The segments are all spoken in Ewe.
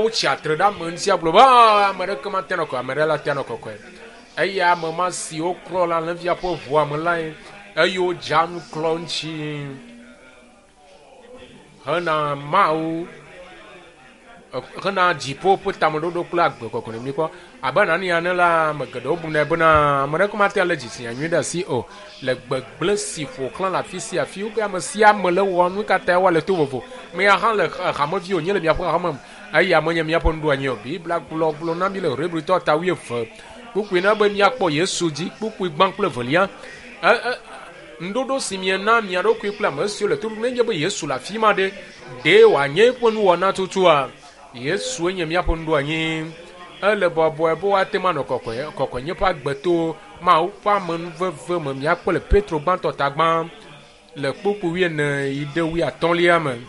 Wotsi atre ɖe ame ŋuti agblɔ be ah, ame ɖeke mate nɔ kɔkɔe, ame ɖe la te nɔ kɔkɔe. Eye ame ma si woklɔ le alẽvia ƒe ʋua me lae eye wodza nu klɔ ŋuti hena Mawu hena dziƒo ƒe tameɖoɖo kple agbe kɔkɔe ne míkpɔ. Abe Anania ene la, ame geɖewo bunɛ bena ame ɖeke mate alé dzitsinya nyui ɖe asi o. Le gbegblẽ si ƒo xlã le afi sia afi, wobe ame sia ame le wɔ nu ka tae woale to vovo. Mia hã le hamevi wònye le miaƒe hame me eye ame nye miaƒe nuɖoanyi o. Biblia gblɔ gblɔ na mi le Hebritɔ ta wuieve kpukpui na be miakpɔ Yesu dzi kpukpui gbã kple evelia. E, e, ŋuɖoɖo si miena mia ɖokui kple ame siwo le to ɖom nenye be Yesu le afi ma ɖe, ɖe wòanye eƒe nuwɔna tutua? Yesue nye míaƒe nuɖoanyi. Ele bɔbɔe be woate ŋu anɔ kɔkɔe, kɔkɔenye ƒe agbe to Mawu ƒe amenuveve me. Míakpɔ le Petro gbãtɔ ta gbã le kpukpui wuiene yi ɖe wuiatɔ̃lia me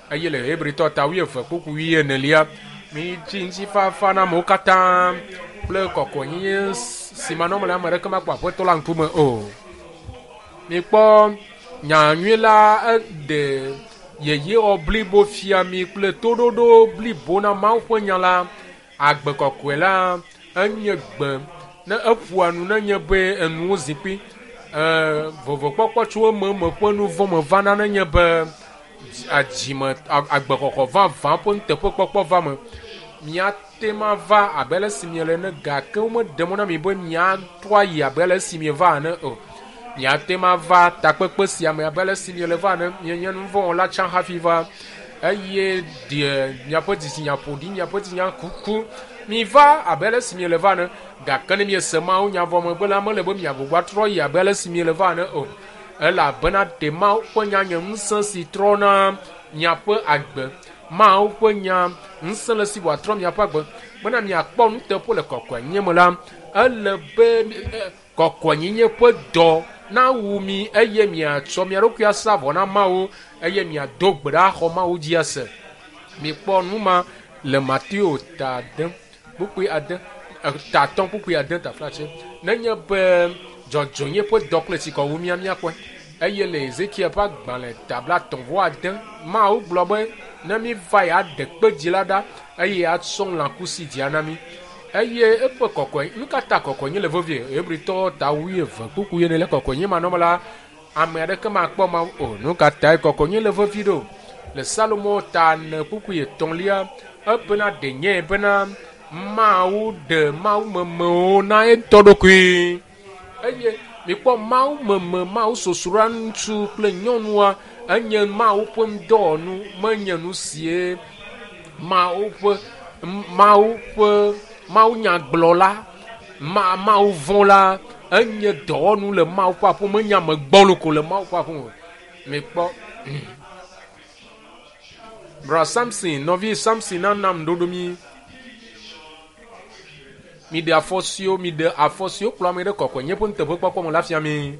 eye le Hebritɔ ta wuieve kpukpui wuienelia. Mitsi ŋutifafa na amewo katã kple kɔkɔenyenye si manɔme le ame aɖeke makpɔ Aƒetɔ la ŋkume o. Mikpɔ nya nyui la eɖe yeyewɔ blibo fia mi kple toɖoɖo blibo na Mawu ƒe nya la. Agbe kɔkɔe la enye gbe ne eƒoa nu nenye be enuwo zikpui e vovokpɔkpɔ tso eme eme ƒe nu vɔ̃ me vana nenye be dzime agbexɔxɔ vavã ƒe nuteƒekpɔkpɔ va me. Miate ŋu ava abe ale si miele ene gake womeɖe mɔ na mi be miatrɔ ayi abe ale si mieva ene o. Miate ŋu ava takpekpe sia me abe ale si miele va ene. Mienye nu vɔ̃ wɔla tsã hafi va eye ɖe miaƒe dzitsinya ƒo ɖi, miaƒe dzitsinya kuku. Miva abe ale si miele va ene gake ne miese Mawu nya vɔ megbe la, mele be miagbugbɔ atrɔ yi abe ale si miele va ene o. Elabena ɖe Mawu ƒe nya nye ŋusẽ si trɔna miaƒe agbe. Mawu ƒe nya ŋusẽ le si wòatrɔ miaƒe agbe bena miakpɔ nuteƒe le kɔkɔenyenye me la, ele be kɔkɔenyenye ƒe dɔ nawu mi eye miatsɔ mia ɖokui asa vɔ na Mawu eye miado gbe ɖa axɔ Mawu dzi ase. Mikpɔ nu ma le Mateo ta ade kpukpui ade ta atɔ̃ kpukpui ade taflatse. Nenye be dzɔdzɔenye ƒe dɔ kple tsikɔ wu mía míakpɔe. Eye le Ezekiel ƒe agbalẽ ta blaetɔ̃ vɔ ade, Mawu gblɔ be ne míva yeaɖe kpe dzi la ɖa eye atsɔ lãkusi dzia na mí. Eye eƒe kɔkɔe, nu ka ta kɔkɔenye le vevie? Hebritɔwo ta wuieve kpukpui ene le kɔkɔenye manɔme la, ame aɖeke makpɔ Mawu o. Nu ka tae kɔkɔenye le vevie ɖo? Le Salomo ta ene kpukpui etɔ̃lia, ebena ɖe nyae bena Mawu ɖe mawumemewo na ye ŋutɔ ɖokui. Eye mikpɔ mawumeme, Mawu sosroa ŋutsu kple nyɔnua enye Mawu ƒe ŋdɔwɔnu, menye nu sie Mawu ƒe Mawu ƒe mawunyagblɔla, ma Mawu vɔ̃la enye dɔwɔnu le Mawu ƒe aƒe me, menye ame gbɔlo ko le Mawu ƒe aƒe me. Mikpɔ Bra Samson, nɔvi Samson nana ŋuɖoɖo mi. Miɖe afɔ siwo miɖe afɔ siwo kplɔ ame ɖe kɔkɔenye ƒe nuteƒekpɔkpɔ me la fia mi.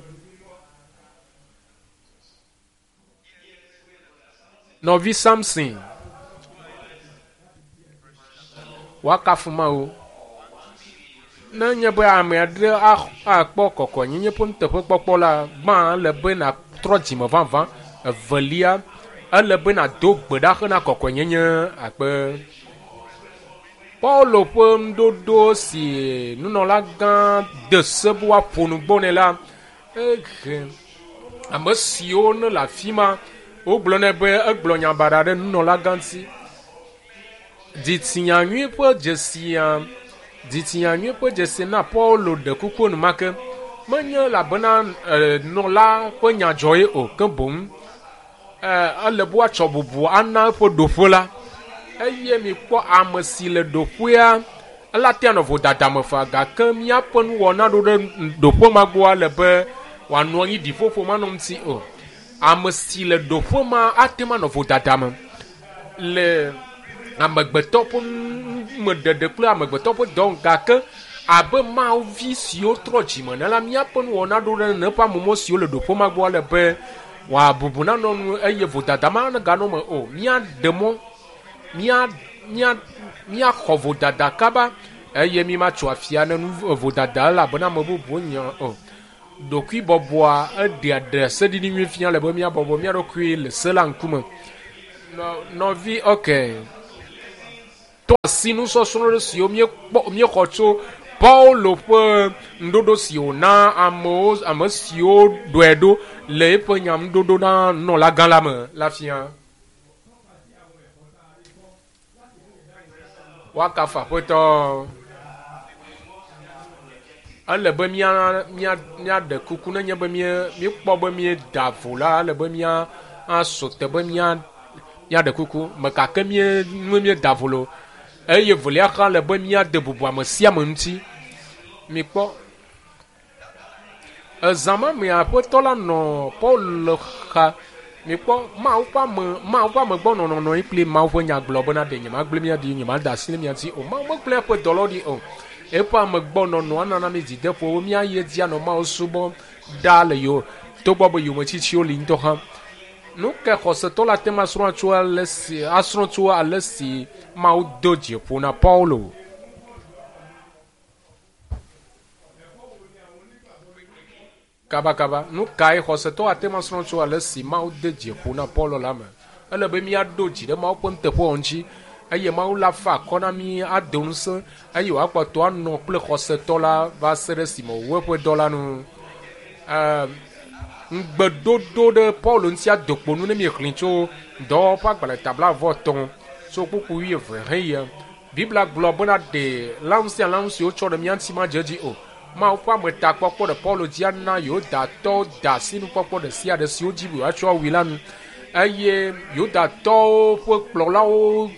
Nɔvi Samson, woakafu Mawu. Ne nye be ame aɖe akpɔ kɔkɔenyenye ƒe nuteƒekpɔkpɔ la, gbã ele be nàtrɔ dzime vavã. Evelia, ele be nàdo gbe ɖa hena kɔkɔenyenye akpe. Paulo ƒe ŋuɖoɖo si nunɔlagã de se be woaƒo nu gbɔ nɛ la, ehe ame siwo ne le afi ma wogblɔ nɛ be egblɔ nya baɖa ɖe nunɔlagã ŋuti. Dzitsinya nyui ƒe dzesia dzitsinya nyui ƒe dzesi na Paulo ɖe kuku enumake. Menye elabena nunɔla ƒe nya dzɔ ye o, ke boŋ ele be woatsɔ bubu ana eƒe ɖoƒe la. Eye mikpɔ ame si le ɖoƒea, ela tea nɔ vodada me faa gake míaƒe nuwɔna ɖo ɖe ɖoƒe ma gbɔa le be wòanɔ anyi ɖiƒoƒo manɔ ŋuti o. Ame si le ɖoƒe ma ate ŋu anɔ vodada me le amegbetɔ ƒe numeɖeɖe kple amegbetɔ ƒe dɔ gake abe Mawu vi siwo trɔ dzime ene la, míaƒe nuwɔna ɖo ɖe neƒe amemɔ siwo le ɖoƒe ma gbɔ le be wòabubu nanɔ nu eye vodada ma neganɔ eme o. Míaɖe mɔ mía mía míaxɔ vodada kaba eye mímatso afia ne nu vodada elabena ame bubuwo nya o. Ɖokuibɔbɔa eɖea ɖaseɖiɖi nyui fia le be míabɔbɔ mía ɖokui le se la ŋkume. Nɔ nɔvi okay. Tɔ asi nusɔsrɔ̃ ɖe siwo míekpɔ míexɔ tso Paulo ƒe ŋuɖoɖo si wòna amewo ame siwo ɖɔe ɖo le eƒe nyaŋuɖoɖo na nunɔlagã la me la fia. Woakafu Aƒetɔ. Ele be mía mía míaɖe kuku nenye be mía míekpɔ be míeda vo la, ele be mía asu te be mía míaɖe kuku. Me ka ke mía nue míeda vo le o. Eye velia hã le be míade bubu ame sia ame ŋuti. Mikpɔ. Ezã ma mea Aƒetɔ la nɔ Paul xa. Mikpɔ Mawu ƒe ame Mawu ƒe ame gbɔ nɔnɔ nɔ anyi kpli Mawu ƒe nya gblɔ bena ɖe nyemagblẽ mia ɖi, nyemada asi ɖe mia dzi o. Mawu megblẽ eƒe dɔlawo ɖi o. Eƒe ame gbɔ nɔnɔ anana mi dzideƒo be míayi edzi anɔ Mawu subɔm ɖaa le yewo togbɔ be yometsitsiwo li ŋutɔ hã. Nu ke xɔsetɔ la te ŋu asrɔ̃ tso ale si asrɔ̃ tso ale si Mawu do dzi ƒo na Paulo. Kabakaba, nu kae xɔsetɔ ate ŋu asrɔ̃ tso ale si Mawu de dzi ƒo na Paulo la me? Ele be míaɖo dzi ɖe Mawu ƒe nuteƒewɔwɔ ŋuti, eye Mawu la fa akɔ na mí, ado ŋusẽ, eye wòakpɔtɔ anɔ kple xɔsetɔ la va se ɖe esime wòwu eƒe dɔ la nu. Ee, ŋugbedodo ɖe Paulo ŋuti ado kpo nu ne míexlẽe tso Dɔwɔwɔ ƒe agbalẽ ta blaeve-vɔ-etɔ̃ tso kpukpui wuieve heyi. Biblia gblɔ bena ɖe lãnu sia lãnu si wotsɔ ɖe mía ŋuti madze edzi o. Mawu ƒe ametakpɔkpɔ ɖe Paulo dzi ana Yudatɔwo da asi nukpɔkpɔ ɖe sia ɖe si wodi be yewoatsɔ awui la nu. Eye Yudatɔwo ƒe kplɔlawo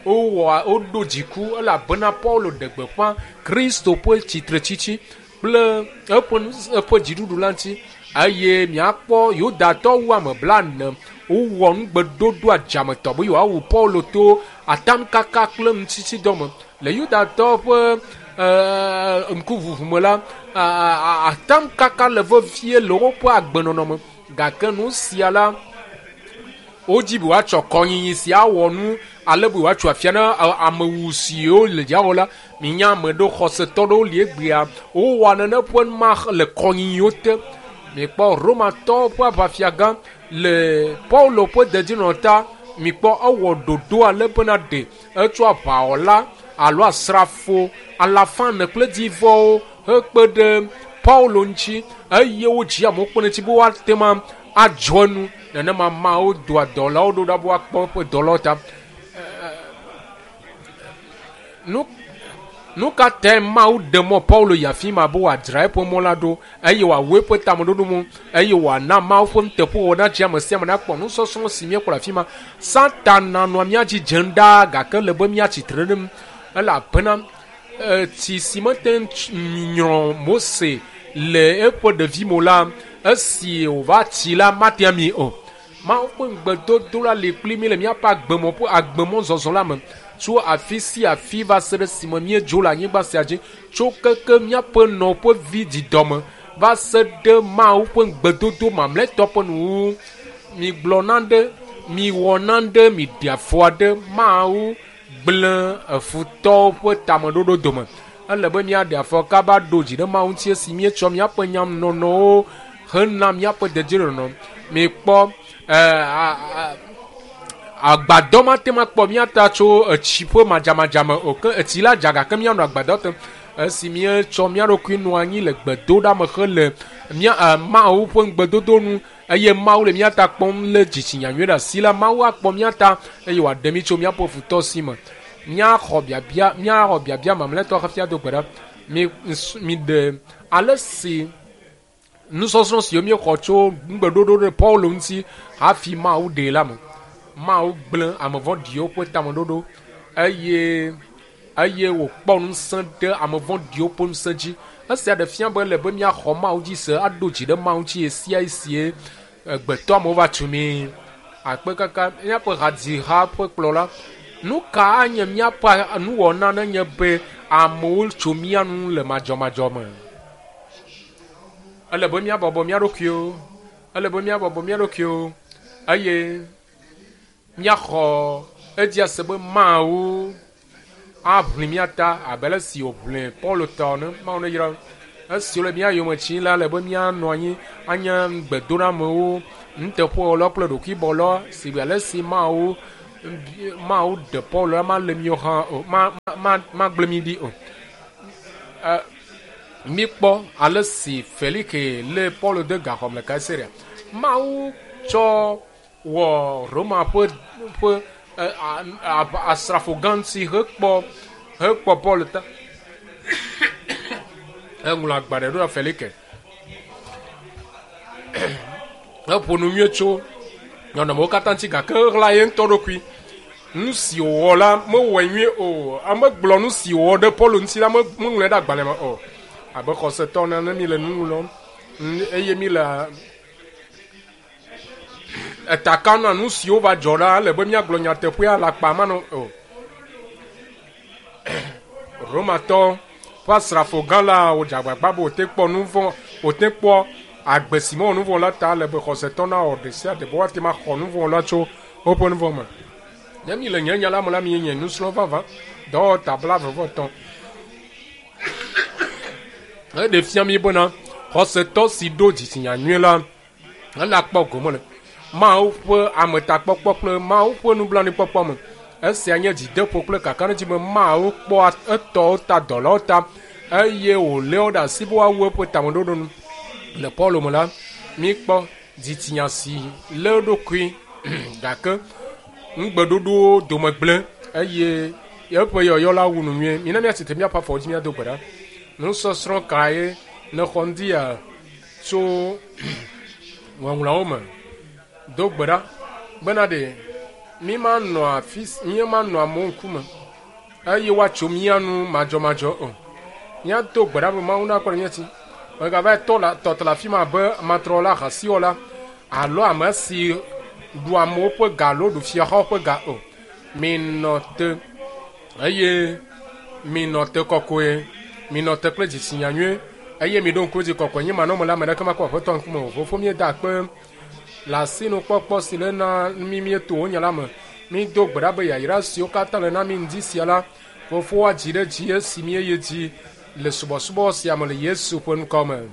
wowɔ woɖo dziku elabena Paulo ɖe gbeƒã Kristo ƒe tsitretsitsi kple eƒe eƒe dziɖuɖu la ŋuti. Eye miakpɔ Yudatɔ wu ame blaene wowɔ nugbeɖoɖo adzametɔ be yewoawu Paulo to atamkaka kple nutsitsidɔ me. Le Yudatɔ ƒe ŋkuʋuʋu me la, atamkaka le vevie le woƒe agbenɔnɔ me. Gake nu sia la, wodzi be woatsɔ kɔnyinyi sia awɔ nu ale be woatso afia na amewu siwo le dziawɔ la. Minya ame ɖewo xɔsetɔ ɖewo li egbea wowɔa nane ƒe ma le kɔnyinyiwo te. Mikpɔ Romatɔwo ƒe aʋafiagã le Paulo ƒe dedinɔnɔ ta. Mikpɔ ewɔ ɖoɖo ale bena ɖe etsɔ aʋawɔla alo asrafo alafa ene kple dzivɔwo hekpe ɖe Paulo ŋuti eye wodzi amewo kpe ɖe eŋuti be woate ŋu adzɔ enu. Nenema Mawu doa dɔlawo ɖo ɖa be woakpɔ eƒe dɔlawo ta. Nu nu ka tae Mawu ɖe mɔ Paulo yi afi ma be wòadzra eƒe mɔ la ɖo eye wòawu eƒe tameɖoɖo ŋu eye wòana Mawu ƒe nuteƒewɔwɔ nadzi ame sia ame nakpɔ nusɔsrɔ̃ si míekpɔ le afi ma. Satana nɔa mía dzi dzem ɖaa gake ele be míatsi tre ɖe eŋu elabena tsi si mete ŋu nyrɔ Mose le eƒe ɖevime o la, esi wòva tsi la mate ami o. Mawu ƒe ŋugbedodo la li kpli mí le míaƒe agbemɔ ƒe agbemɔzɔzɔ la me tso afi sia afi va se ɖe esime míedzo le anyigba sia dzi, tso keke míaƒe nɔƒe vi didɔme va se ɖe Mawu ƒe ŋugbedodo mamlɛtɔ ƒe nuwuwu. Migblɔ nane, miwɔ nane, miɖe afɔ aɖe. Mawu gblẽ efutɔwo ƒe tameɖoɖo dome. Ele be míaɖe afɔ kaba ɖo dzi ɖe Mawu ŋuti esi míetsɔ míaƒe nyanɔnɔwo hena míaƒe dedienɔnɔ. Mikpɔ agbadɔ mate ŋu akpɔ mía ta tso etsi ƒe madzamadza me o. Ke etsi la dza gake míanɔ agbadɔ te. Esi míetsɔ mía ɖokui nɔ anyi le gbedoɖame hele mía Mawu ƒe ŋugbedodo nu eye Mawu le mía ta kpɔm lé dzitsinya nyui ɖe asi la, Mawu akpɔ mía ta eye wòaɖe mí tso míaƒe futɔ si me. Míaxɔ biabia, míaxɔ biabia mamlɛtɔ hafi ado gbe ɖa. Mi, miɖe ale si nusɔsrɔ̃ siwo míexɔ tso nugbeɖoɖo ɖe Paulo ŋuti hafi Mawu ɖee la me. Mawu gblẽ ame vɔ̃ɖiwo ƒe tameɖoɖo eye eye wòkpɔ ŋusẽ ɖe ame vɔ̃ɖiwo ƒe ŋusẽ dzi. Esia ɖe fia be ele be míaxɔ Mawu dzi se aɖo dzi ɖe Mawu ŋuti ɣesiaɣi si gbetɔ amewo va tu mí. Akpe kaka míaƒe hadziha ƒe kplɔla. Nu ka anye míaƒe nuwɔna nenye be amewo tso mía nu le madzɔmadzɔ me? Ele be míabɔbɔ mía ɖokuiwo. Ele be míabɔbɔ mía ɖokuiwo eye míaxɔ edzi ase be Mawu aʋli mía ta abe ale si wòʋli Paulo ta ene. Mawu neyra. Esi wole mía yome tsim la, ele be míanɔ anyi anye gbedoɖamewo, nuteƒewɔlawo kple ɖokuibɔlawo si ale si Mawu Mawu ɖe Paulo la ma le míwo hã o, ma ma magblẽ mí ɖi o. Míkpɔ ale si Felike lé Paulo de gaxɔ me le Kaisarea. Mawu tsɔ wɔ Roma ƒe ƒe asrafo gã ŋuti hekpɔ hekpɔ Paulo ta. Eŋlɔ agbalẽ ɖo ɖe Felike. Eƒo nu nyuie tso nɔnɔmewo katã ŋuti gake eɣla ye ŋutɔ ɖokui. Nu si wòwɔ la mewɔe nyuie o. Ame gblɔ nu si wòwɔ ɖe Paulo ŋuti la meŋlɔe ɖe agbalẽ me o. Abe xɔsetɔ ene ne mi le nu ŋlɔm eye mi le eta kam na nu siwo va dzɔ ɖa ele be míagblɔ nyateƒea le akpa manɔ o. Romatɔ ƒe asrafo gã la wòdze agbagba be wòte kpɔ nu vɔ̃ wòte kpɔ agbe si mewɔ nu vɔ̃ la ta ele be xɔsetɔ nawɔ ɖe sia ɖe be woate ŋu axɔ nu vɔ̃ la tso woƒe nu vɔ̃ me. Ne mi le nye nya la me la, mi nye nusrɔ̃ vavã. Dɔwɔta 13. Eɖe fia mi bena xɔsetɔ si ɖo dzitsinya nyui la, ele akpɔ gome le Mawu ƒe ametakpɔkpɔ kple Mawu ƒe nublanuikpɔkpɔ me. Esia nye dzideƒo kple kakaɖedzi be Mawu kpɔa etɔwo ta, dɔlawo ta eye wòlé wo ɖe asi be woawu eƒe tameɖoɖo nu. Le Paulo me la, míkpɔ dzitsinya si lé eɖokui gake nugbeɖoɖowo dome gblẽ eye eƒe yɔyɔ la wu nu nyuie. Mina míatsi tre míaƒe afɔwo dzi míado gbe ɖa. Nusɔsrɔ̃ kae nèxɔ ŋdi ya tso ŋɔŋlɔawo me? Do gbe ɖa bena ɖe mí manɔ afi mí manɔ amewo ŋkume eye woatso mía nu madzɔmadzɔ o. Míado gbe ɖa be Mawu nakpɔ ɖe mía dzi. Megava tɔ la tɔtɔ le afi ma abe amatrɔwɔla, ahasiwɔla alo ame si ɖu amewo ƒe ga alo ɖu fiaxawo ƒe ga o. Minɔ te eye minɔ te kɔkɔe. Minɔ te kple dzitsinya nyuie eye miɖo ŋku edzi kɔkɔe nye manɔme la ame ɖeke makpɔ Aƒetɔ ŋkume o. Fofo míeda akpe le asinukpɔkpɔ si le na mí míeto wo nya la me. Mído gbe ɖa be yayra siwo katã le na mí ŋdi sia la, Fofo woadzi ɖe dzi esi míeyi dzi le subɔsubɔ sia me le Yesu ƒe ŋkɔ me.